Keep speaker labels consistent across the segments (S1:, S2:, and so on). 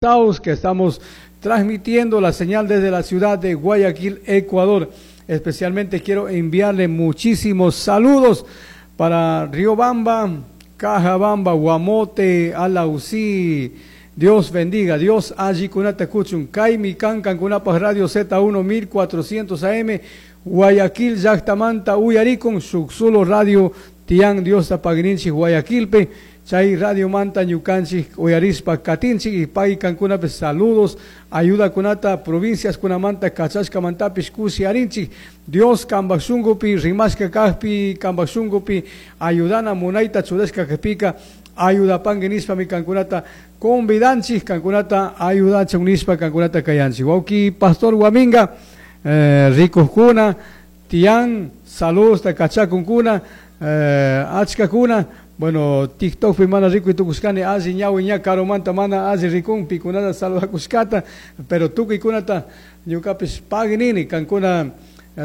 S1: Que estamos transmitiendo la señal desde la ciudad de Guayaquil, Ecuador. Especialmente quiero enviarle muchísimos saludos para Riobamba, Cajabamba, Guamote, Alausí. Dios bendiga, Dios allí kunata kuchun, Kaimi Kankan Kunapa Radio Z1 1400 AM, Guayaquil, Llactamanta, Uyaricon, Suxulo Radio, Tian Dios Tapagrinchi, Guayaquilpe. Chay Radio Manta ñukanchik uyarispa katinchik y pay kankunapi saludos ayuda kunata provincias kunamanta kachashkamantapish kushi arinchik. Dios kambak shunkupi rimashka kajpi kambak shunkupi ayudana munayta churashka kajpika ayudapanki nishpami kankunata convidanchik kankunata ayudachun nishpa kankunata kayanchik. Wawki Pastor Guaminga rikukuna tiyan saludos kachakunkuna achkakuna. Bueno, TikTok pi mana rikuy tukushkani alli ñawi ña karumanta mana alli rikun pikunata saludakushkata, pero tukuykunata ñukapish paginini kankuna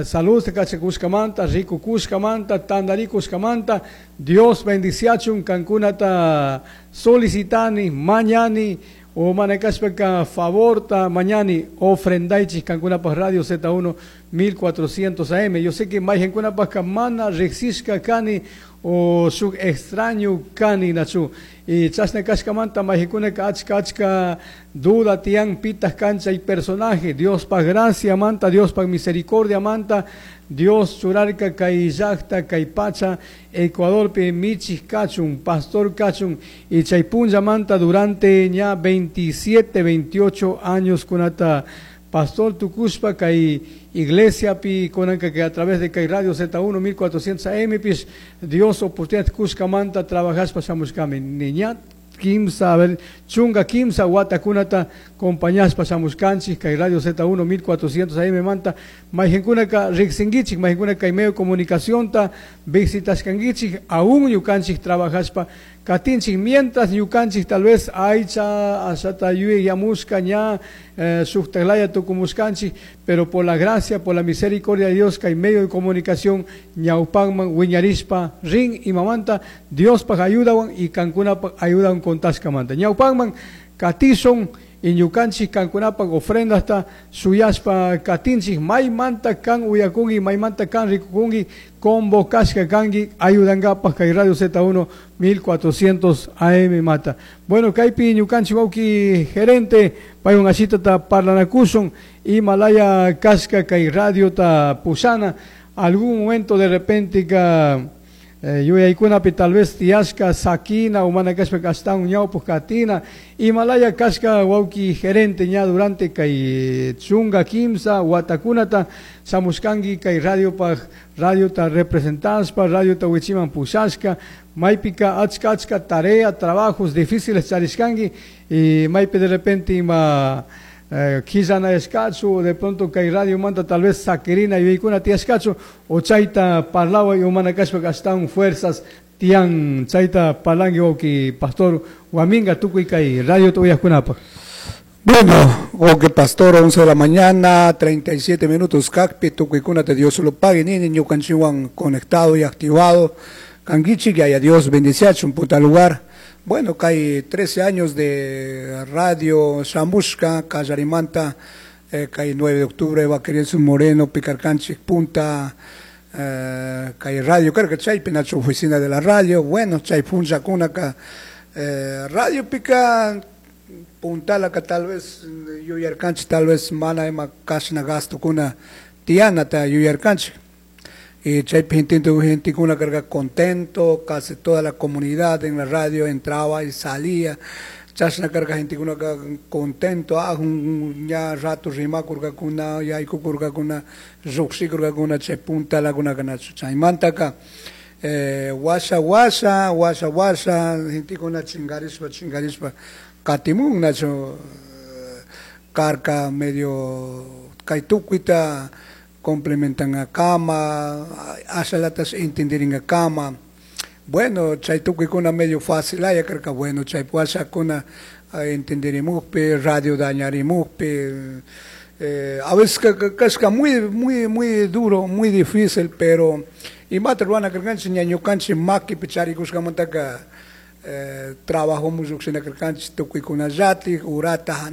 S1: saludos kachakushkamanta, rikukushkamanta, tandarikushkamanta, Dios bendiciachun kankunata solicitani, mañani, o mana kashpaka favorta mañani ofrendaichik kankunapaj Radio Z1 1400 AM. Yo sé que mayjankunapajka mana riksishka kani o shuk extraño kani nachu. Y chashna kashkamanta mayjankunaka achka achka duda tiyan pitah kancha y personaje. Dios pa gracia manta, Dios pa misericordia manta, Dios churarka kay llakta kay pacha Ecuadorpi michik kachun, pastor kachun y chay punlla manta durante ña 27, 28 años kunata pastor tukushpa kay iglesia pi kunanka que a través de kay Radio Z1 1400 AM pis Dios oportunidad kushkamanta trabajashpa shamushkami niña kimsa, a ver, chunga kimsa watakunata compañashpa shamushkanchik kay Radio Z1 1400 AM manta mayjankunaka riksinkichik mayjankunaka kay medio comunicacionta visitashkankichik aún ñukanchik trabajashpa katinchik mientras ñukanchik tal vez aycha ashata yuyamushka ña shuktaklaya tukumushkanchik, pero por la gracia, por la misericordia de Dios kay medio de comunicación ñawpanman wiñarishpa rin imamanta Dios paj ayudawan y kankunapaj ayudawan contashkamanta ñawpanman katishun y ñukanchik kankunapaj ofrendasta suyashpa katinchik maymanta kan uyakunki maymanta kan rikukunki convocashka kanki ayudankapaj kay Radio Z1 1400 AM mata. Bueno, kaypi ñukanchik wawki gerente paywan ashitata parlanakushun imalaya kashka kay radiota pushana algún momento de repente ka yuyaykunapi tal vez tiyashka sakina o mana kashpa ashtawan ñawpuk katina imalaya kashka wawki gerente ña durante kay chunga kimsa watakunata shamushkanki kay radiopaj radiota representashpa radiota wichiman pushashka maypika achka achka tarea trabajos difíciles charishkanki y maypi de repente ima quillanayashkachu de pronto kay radio manta tal vez sakirina yuyaykuna tiyashkachu o chayta parlaway o mana kashpa ashtawan fuerzas tiyan chayta parlanki wawki Pastor Guaminga tukuy kay radio uyajkunapaj.
S2: Bueno, wawki Pastor, 11 de la mañana, 37 minutos, kajpi, tukuykuna te Dios lo pague, nini ñukanchikwan conectado y activado, kankichik, que haya Dios bendiciachun, punta lugar. Bueno, kay 13 años de radio Shamushka, Kallarimanta, kay 9 de octubre, Vaquerizo Moreno, Picarcanchik, Punta, kay radio, creo que chay, pinacho oficina de la radio, bueno, chay puncha kunaka, radio pica, puntala que tal vez, yuyarcanchik, tal vez mana ima kashna gasto kuna, tiana ta yuyarcanchik. Y chay gente, gente kuna carga contento, casi toda la comunidad en la radio entraba y salía. Chashna carga gente kuna contento, ah, un ya rato rima kurga kuna, ya iku kurga kuna, ruxi kurga kuna, chay punta la kuna kana chaymanta ka, washa washa, washa washa, gente kuna chingarispa, chingarispa, katimun nacho, carca medio kaitukuita, complementan a cama, ashalatas entenderin a cama. Bueno, chay tukuykuna medio fácil, ay, creo que bueno, chay puashakuna entenderimukpi, radio dañarimukpi, a veces que muy, muy, muy duro, muy difícil, pero imata ruana karkanchik ñañukanchik makipi charikushkamantaka Eh, trabajo llukshina karkanchik tukuykunallatik urata.